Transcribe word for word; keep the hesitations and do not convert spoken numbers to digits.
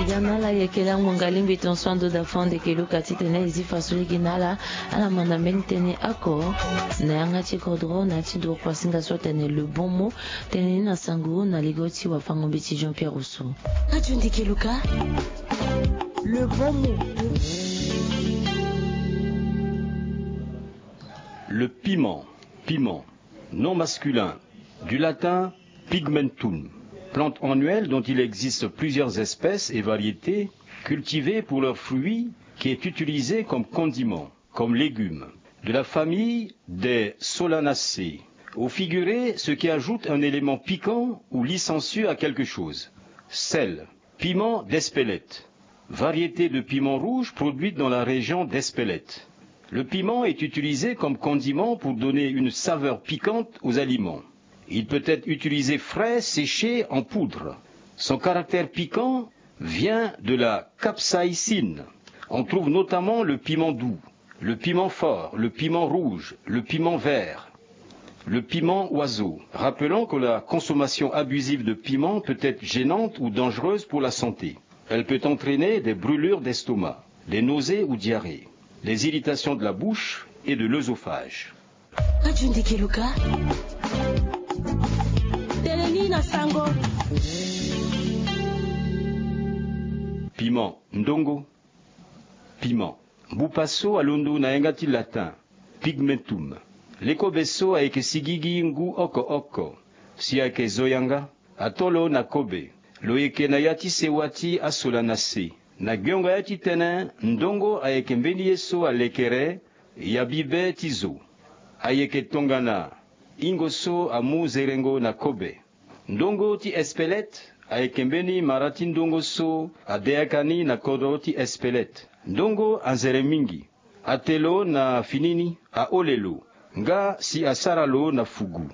Ya na ala yeke lango ngalingbi ton so ando da fo ande ke luka titene e zi fa so lege na ala. Ala manda mbeni tënë oko na yanga ti kodro na ya ti nduru kuasinga so atene le bon mot. Tënë ni na sango na ligo ti wafango mbeti Jean Pierre Rousseau. Radio Ndeke Luka. Le bon mot. Le piment. Piment. Nom masculin. Du latin pigmentum. Plante annuelle dont il existe plusieurs espèces et variétés cultivées pour leurs fruits, qui est utilisé comme condiment, comme légume. De la famille des Solanaceae. Au figuré, ce qui ajoute un élément piquant ou licencieux à quelque chose. Sel. Piment d'Espelette. Variété de piment rouge produite dans la région d'Espelette. Le piment est utilisé comme condiment pour donner une saveur piquante aux aliments. Il peut être utilisé frais, séché, en poudre. Son caractère piquant vient de la capsaïcine. On trouve notamment le piment doux, le piment fort, le piment rouge, le piment vert, le piment oiseau. Rappelons que la consommation abusive de piment peut être gênante ou dangereuse pour la santé. Elle peut entraîner des brûlures d'estomac, des nausées ou diarrhées, des irritations de la bouche et de l'œsophage. Radio Ndeke Luka. Tënë ni na sango. Piment, ndongo. Piment. Mbupa so alondo na yanga ti latin pigmentum. Lekobe so ayeke sigigi ngu oko oko. Si ayeke zo yanga, ato lo na kobe. Lo yeke na ya ti sewa ti asolana se. Na giongo ya ti tënë, ndongo ayeke mbeni ye so alekere ya bibe ti zo. Ayeke tongana ingo so amu zerengo na kobe. Ndongo ti espelete ayeke mbeni mara ti ndongo so adeyaka ni na kodro ti espelete. Ndongo anzere mingi. Ate lo na fini ni, ahole lo, nga si asara lo na fugu.